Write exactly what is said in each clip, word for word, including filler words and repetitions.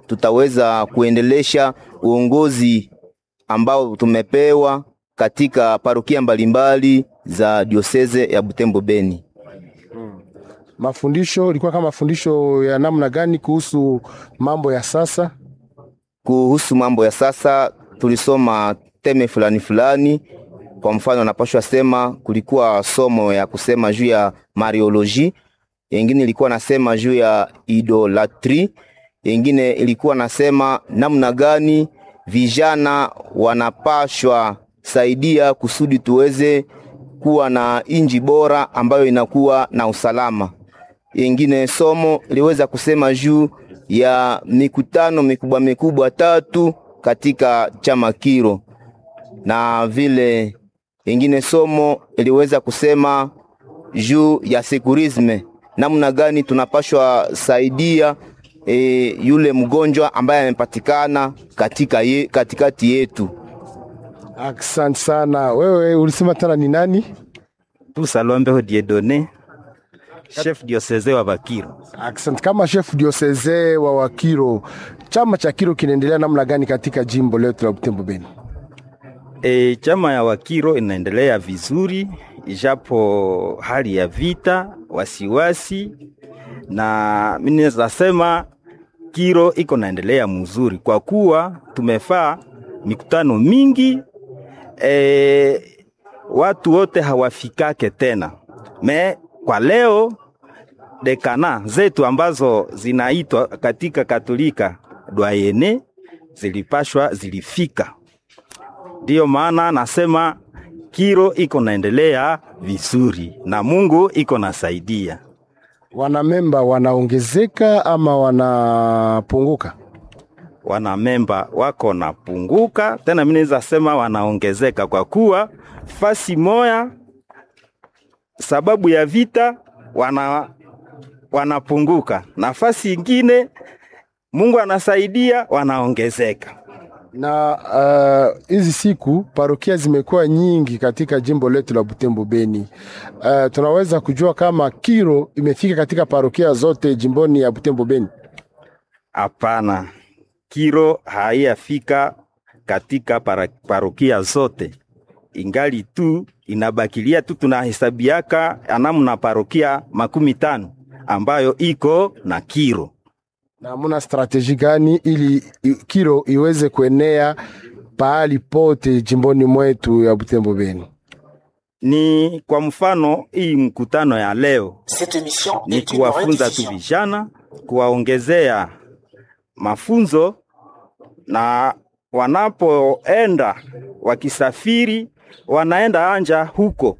tutaweza kuendelesha uongozi ambao tumepewa katika parokia mbalimbali za dioseze ya Butembo Beni. Mafundisho ilikuwa kama mafundisho ya namna gani kuhusu mambo ya sasa? Kuhusu mambo ya sasa tulisoma thème fulani fulani. Kwa mfano, napashwa sema kulikuwa somo ya kusema juu ya mariologie, yengine ilikuwa nasema juu ya idolâtrie, yengine ilikuwa nasema namna gani vijana wanapashwa saidia kusudi tuweze kuwa na inji bora ambayo inakuwa na usalama. Yengine somo iliweza kusema juu ya mikutano mikubwa mikubwa tatu katika chama Kiro, na vile ingine somo iliweza kusema juu ya secourisme, namna gani tunapashwa saidia e, yule mgonjwa ambaye amepatikana katika ye, katikati yetu. Asante sana. Wewe ulisema tena ni nani? Tusalombeho Dieudonné, chef diocésain wa Bakiro. Asante. Kama chef diocésain wa Wakiro, chama cha Kiro kinaendelea namna gani katika jimbo letu la Butembo Beni? E, chama ya Wakiro inaendelea vizuri ijapo hali ya vita, wasiwasi, na mimi naweza sema Kiro iko naendelea mzuri kwa kuwa tumefaa mikutano mingi e, watu wote hawafikake tena mais kwa leo décanat zetu ambazo zinaitwa katika Katolika doyenné zilipashwa zilifika. Ndiyo maana nasema Kiro iko naendelea vizuri na Mungu iko nasaidia. Wanamemba wanaongezeka ama wanapunguka? Wanamemba wako napunguka tena, mimi naweza sema wanaongezeka kwa kuwa fasi moya sababu ya vita wana wanapunguka, nafasi ingine Mungu anasaidia wanaongezeka. Na hizi uh, siku parokia zimekuwa nyingi katika jimbo letu la Butembo Beni. Uh, tunaweza kujua kama Kiro imefika katika parokia zote jimboni ya Butembo Beni? Hapana, Kiro haiyafika katika para, parokia zote, ingali tu inabakilia tu tunahesabiaka anamna parokia makumi tano ambayo iko na Kiro. Na muna stratégie gani ili Kiro iweze kuenea pahali pote jimboni mwetu ya Butembo Beni? Ni kwa mfano hii mkutano ya leo ni kuwafunza tu vijana, kuwaongezea mafunzo, na wanapoenda wakisafiri wanaenda anja huko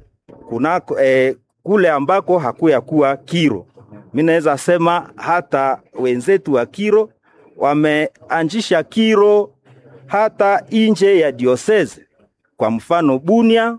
kunako, eh, kule ambako hakuya kuwa Kiro. Mimi naweza sema hata wenzetu wa Kiro wameanzisha Kiro hata nje ya diocèse, kwa mfano Bunia,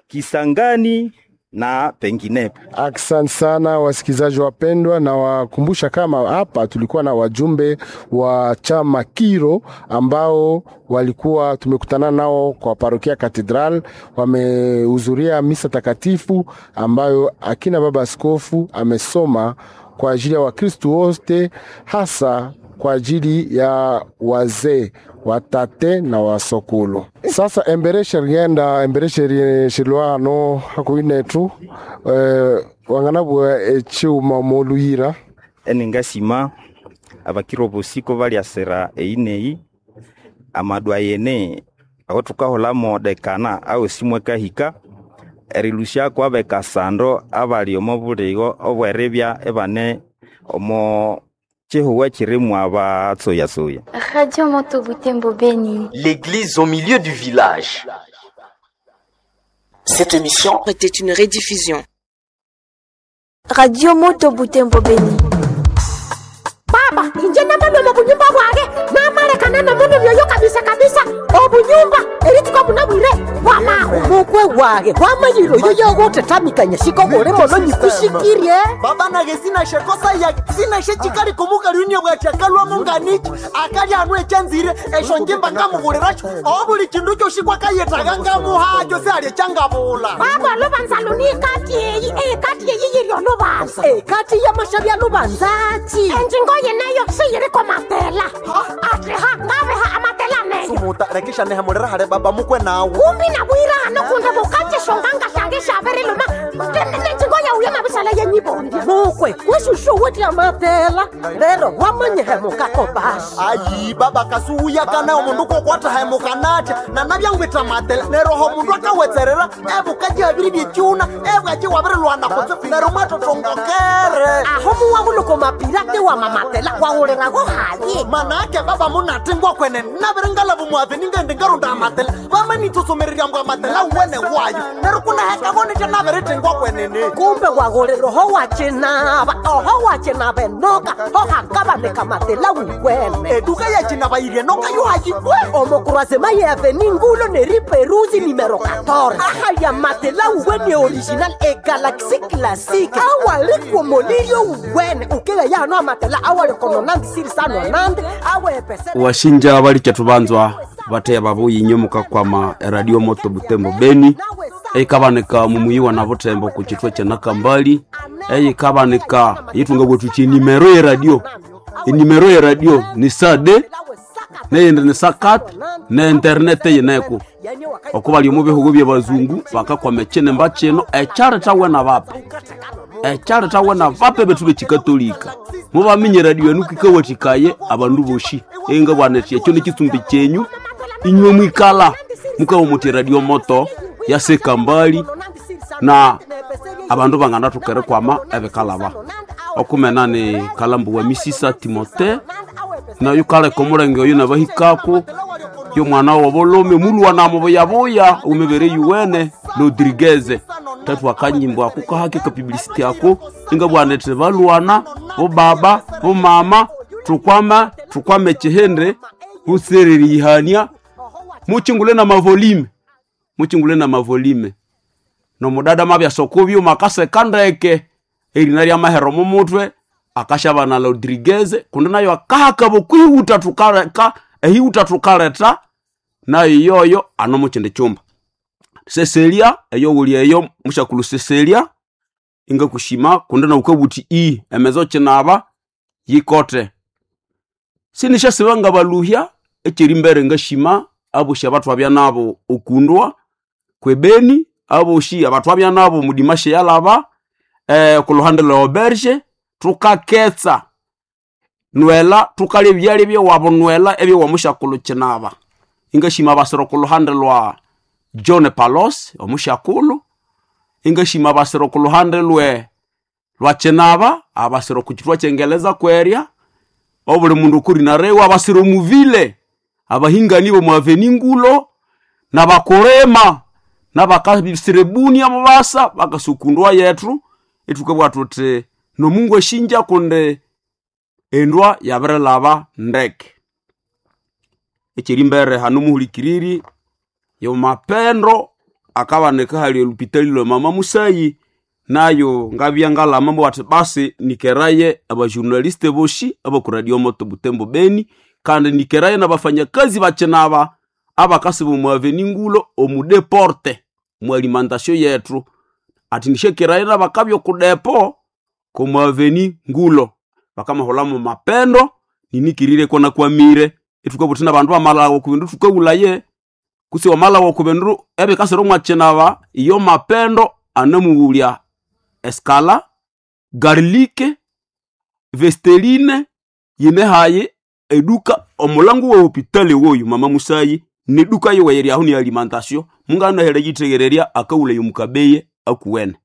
Kisangani na penginepo. Asante sana wasikilizaji wapendwa, na wakumbusha kama hapa tulikuwa na wajumbe wa chama Kiro ambao walikuwa tumekutana nao kwa parokia Cathedral, wamehudhuria misa takatifu ambayo akina baba askofu amesoma kwa ajili ya Wakristu wote, hasa kwa ajili ya wazee watate na wasokulu. Sasa embere sherienda embere sheri shilwano hakuinetu eh, wanganabwa echiuma moluyira Eningasima abakiro bosiko baliasera eineyi amadoyenné aho tukaholamo décanat aho simwe kahika erilusyako abekasando abali omo buligo obweribya ebane omo chihuwa chirimu abatsoyatsoya. Radio Moto Butembo Beni. L'église au milieu du village. Cette émission était une rediffusion. Radio Moto Butembo Beni. Baba, inje namalwela obunyumba bwange namalekana nomundu byoyo kabisa kabisa obunyumba erituka bunabwire bwamaho. Mukwe wage wamanyiro yo yogotetamikanya shikobole mono nyikushikirye. Baba nage sinashekosa ya sinashechikali kumukalunia bwachakalwamo nganichi akali anu echanzire esho njimba ngamubuliracho obuli chindu kyoshi kwakayetaga ngamuhacho sealye changabula. Baba, lubanza lunikati eyi ekati eyi yiryo lubanza. Ekati yamashabya lubanzachi. Enjingo yenayo siyiriko matela. Muta rekisha nehemulera hali baba mukwe nawe. Kumbi nabwira hano kundi bukache shonganga shange shabiriluma. Nenjingo yauye mabisala yenyibondi. Mukwe, kweshushu wetya matela. Lero wamanyihemukako basi. Ayi baba kasuuya kana omundu kokwata hemukanatya nanabyangwitha matela neryo oho mundu akawetserera ebukaji abiri byekyuna ebwaki wabirilwana kutse neryo mwatotongokere. Aho muwabuluko mapirate wa mamatela wawulirago hayi. Manake baba munatingwa kwene nabiringalavu muave ningendi ngarunda amatela vamanitsosomererya mbwa amatela wene wayo neryo kunahekavonitya nabiritingwa kwenene. Kumbe wagulira oho wakinaba oho wakinaba enoka ohakabanika matela wukwene. Eduka yakinaba yiri enoka yohayikwe. Omokurasema ye ngulo neriperuzi nimero quatorze. Ahaya matela wuwene original e galaxy classique. Awalikwo molilio wuwene ukega yano amatela awalikononandi sirisano nandi awepese. Washinja balikya tubanzwa bateya babuyi nyomuka kwama Radio Moto Butembo Beni eikabanika mumuyiwa na Butembo ku chitwa cha Nakambali eikabanika yitunga bwetu chi nimero ya radio inimero ya radio ni sade neyindi ni sakat ne internet yineko okuba lyomu bihugo bya bazungu bakakwama ekinemba kino ekyaletawe na bape ekyaletawe na bape betu bekikatolika mubamenye radio enu kikawathikaye abandu boshi enga bwana eti ekyo nikitsumbi kyenyu inywe mwikala mukawa muti Radio Moto yasekambali na abandu banganathokere kwama ebikalaba okumena ni kalambu wa misisa Timote nayo kaleka omulenge oyo nabahikako yomwana wobolome mulwa namubuyabuya umibere yuwene Rodriguez tatu akanyimbo ako kahake ka publicity ako inga bwana eti balwana bobaba bomama tukwama tukwame chihende busereri ihania muchingule na mavolime muchingule na mavolime nomudada mabya sokubyo makaseka ndeke erina lya mahero mumutwe akashabana Rodriguez kundi nayo akahaka bokwihuta tukaleka ehihuta tukaleta nayo yoyo ano muchindi chumba Cecilia eyo wuli eyo mushakulu Cecilia inga kushima kundi na ukabuti i emezo chinaba yikote sinishasibanga baluhya ekiri mbere ngashima aboshi abatwabya nabo okundwa kwebeni aboshi abatwabya nabo mudimashe yalaba eh, kuluhande lwa auberge tukaketsa nwela tukalya ebyalya byewabo nwela ebyewamushakulu kinaba ingashima abasiro kuluhande lwa John Palos omushakulu ingashima abasiro kuluhande lwe lwa kinaba abasiro kuchitwa kyengeleza kwerya obuli mundu kurinarewa abasiro muvile abahingani bomwaveni ngulo nabakorema nabakasirebuni amabasa bakasukundwa yetu itukabwa tuti nomungu eshinja kunde endwa yabirilaba ndeke ekiri mbere hano muhulikiriri yomapendo akabaneka hali olupitali lwa mama Musayi nayo ngabya ngalama mbwati basi nikeraye abajournaliste boshi abakuradio Moto Butembo Beni kandi nikeraye n'abafanyakazi bakinaba abakasi bomwaveni ngulo omudeporte mu alimentation yetu ati nishekeraye n'abakabya okudepo komwaveni ngulo bakamaholamu mapendo ninikirire kona kwamire itukabuthi n'abandu bamalawo kubindu tukawulaye kusi wamalawo kubindu ebikasira omwakinaba iyo mapendo anamuwulya eskala garlike vesteline yinehaye eduka omulango wa hopitali woyu mama Musayi neduka yowe aho ni alimentation munganahele yitegererya akawula yomukabeye akuwene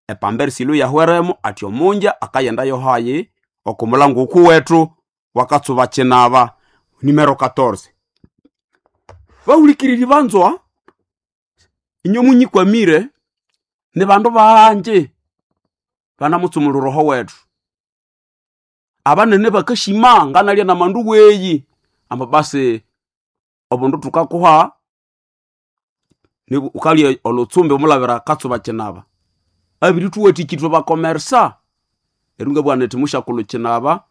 epamberi silo yahweremo ati omunja akayenda yohaye okumulango okuwetu wakatsuba kinaba nimero quatorze bahulikiriri banzwa inyo munyikwamire ni bandu banje banamutsumula roho wetu abanene bakashima nganalya na mandu weyi amba basi obundu tukakuha ni ukalya olutsumbi omulabira katsuba kinaba abiri tuwatikitwe bakomersa erunga bwana eti mushakulu kinaba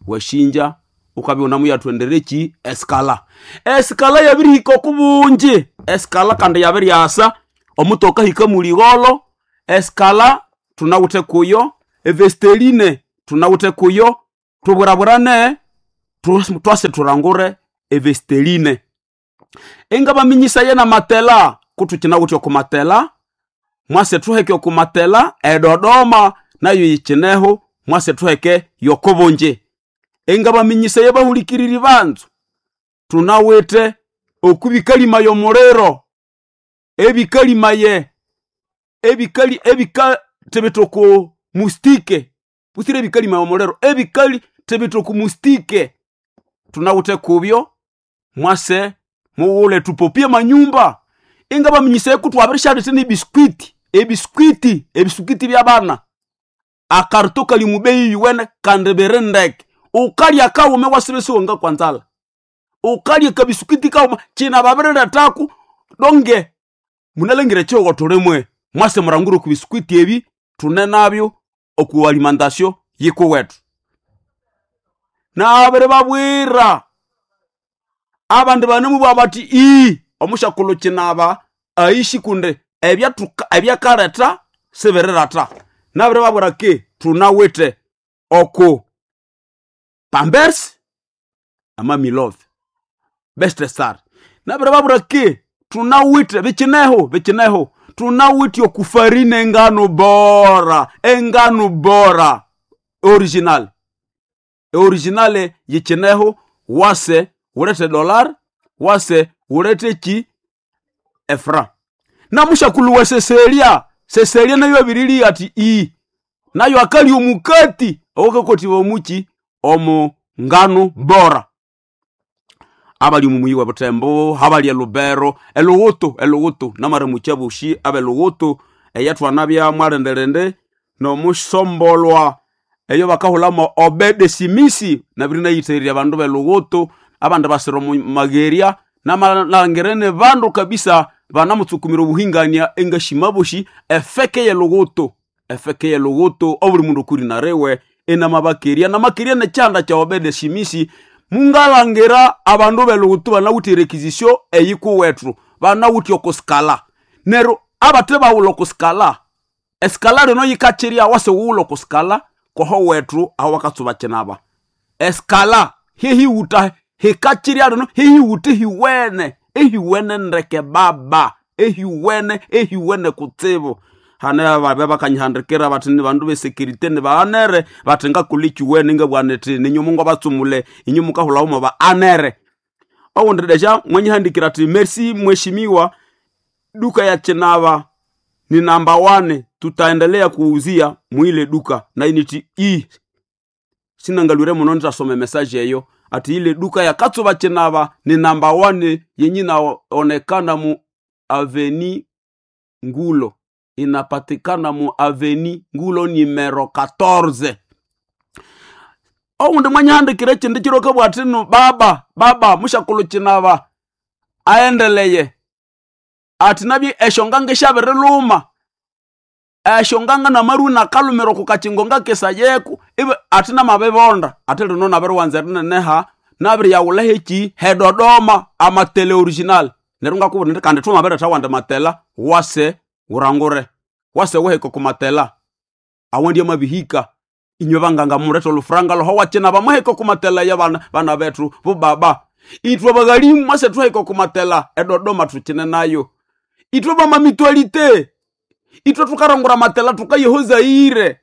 washinja ukabya unamuyatwendereki eskala eskala yabirihika okubungi eskala kandi yabiryasa omutoka hika muligholo eskala tunawuthe kuyo evesteline tunawuthe kuyo tubwirabwirane twase turangure evesteline. Engabaminyisa ye na matela kutukinawithe oku matela mwase thuheke oku matela eDodoma nayo yikineho mwase thuheke yokobonje. Engabaminyisa ye bahulikiriri banzu tunawithe okubikalima y'omuliro ebikalimaye ebikali ebika tebitoko mustike busire ebikalima y'omuliro ebikali tebitoko mustike tunawithe kubyo mwase muwule tupopie manyumba. Ingabaminyisa ku twabirishalete n'ebiskwiti ebiskwiti ebiswikiti by'abana akarito kali mubeyi yuwene kandi biri ndeke ukalya kawume wasibisiwe nga kwanzala ukalya kabiswikiti kawuma kina babiriletaku donge munalengire chihugo tulimwe mwase murangure ku biswikiti ebi tune nabyo oku alimentation yikuwetu. Nabiri babwira abandi banemubwa bati ii omushakulu kinaba aishi kunde ebyakaleta sibirirata. Nabiri babwira ki tunawithe oku Pampers amamilove best star. Nabiri babwira ki tunawithe bikineho bikineho tunawithe okufarine engano bora engano bora original originale yikineho wase wulete dollar wase wulete ki efra. Namushakulu wa seselia seselia nayo abirili ati i nayo akali omukati owakakotiwa omuki omu ngano bora. Abali mumuyi wa Butembo habali elubero eluwutu eluwutu namare muchabushi abe luwutu eyatwana mwalendelende nomusombolwa eyo bakahulamo Obede Simisi nabiri nayitherya abandu beluwutu abandu basira omu mageria namalangirene bandu kabisa banamutsukumira obuhingania engashimaboshi efeke yeluwutu efeke yeluwutu obuli mundu okuri narewe enamabakeria namakeria nekyanda kya Obede Simisi. Mungalangira abandu beluwutu banawithe erekizisyo eyikuwethu banawithe okusikala neryo abathe bawulha okusikala esikala lino yikakyirya wase wuwulha okusikala koho wethu aho wakatsuba kinaba esikala hehiwuta hikakyirya lino hehiwuta ehiwene ehiwene ndeke baba ehiwene ehiwene kutsibu. Hane ababe bakanyihandikira bathi ni bandu besekirite ni baanere bathi ngakulha ekiwene ngabugha nithi ninyu mungabatsumule inyu mukahulhawo ba anere. Owundi desha mwanyihandikira athi merci mheshimiwa, duka ya Chinava ni namba wane, tutaendelea kuuzia mwile duka na initi i sinangalwire muno nitasoma message eyo ati ile duka ya Katsuba Chinava ni namba wane yenye inaonekana mu aveni Ngulo, inapatikana mu aveni Ngulo nimero quatorze. Owundi mwanyihandikira ekindi kiro kabugha ati no baba baba mushakulu Chinava aendeleye ati nabye eshonganga esyabiriluma eshonganga namaru nakalumira oku kakingo ngakesayeko ibe ati namabibonda ati lino nabiriwanza erineneha nabiriyawulha heki hedodoma amatele original. Neryo ngakubwira indi kandi thwamabiretha awandi matela wase wurangure wase wuhike oku matela awandi amabihika inywe banganga mulethe olufuranga lwaho wakinaba muhike oku matela ya bana, bana bethu bubaba. Ithwe baghalimu mwase thuhike oku matela eDodoma thukine nayo. Ithwe bamamitualite ithwe thukarangura matela thukaye Zaire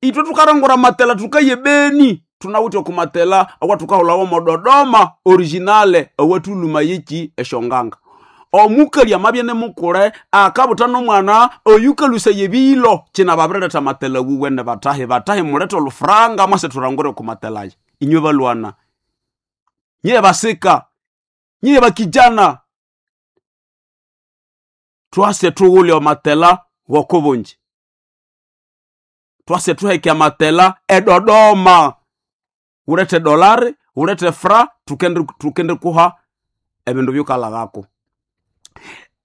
ithwe thukarangura matela thukaye Beni thunawithe oku matela awathukahulhawo omo Dodoma originale awathuluma yeki eshonganga. Omukali amabya nimukule akabutha nomwana oyukalusaya ebilo kina babiriletha matela wuwene batahi batahi mulethe olufuranga mwase thurangure oku matela aya. Inywe balwana nyiye basika nyiye bakijana twase thughulhe amatela wokobonji twase thuheke amatela eDodoma wulethe dolari wulethe fra tukende tukende kuha ebindu byukalhaghako.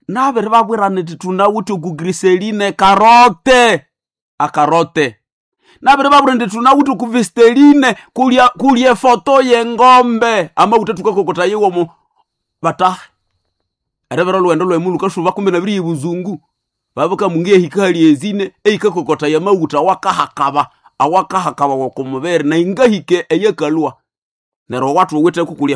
Nabiri babwira nithi thunawithe oku griseline karote akarote. Nabiri babwira indi thunawithe oku vesteline kulya kulya efoto yengombe amawutha thukakokotha yiwomo batahi eribera olhughendo lwemu lukasuba kumbe nabiriya ebuzungu babukamunga ehika hali ezine ehikakokotha yamawutha awakahakaba awakahakaba okumubiri na ingahike eyakalhwa neryo owathuwithe kukulya.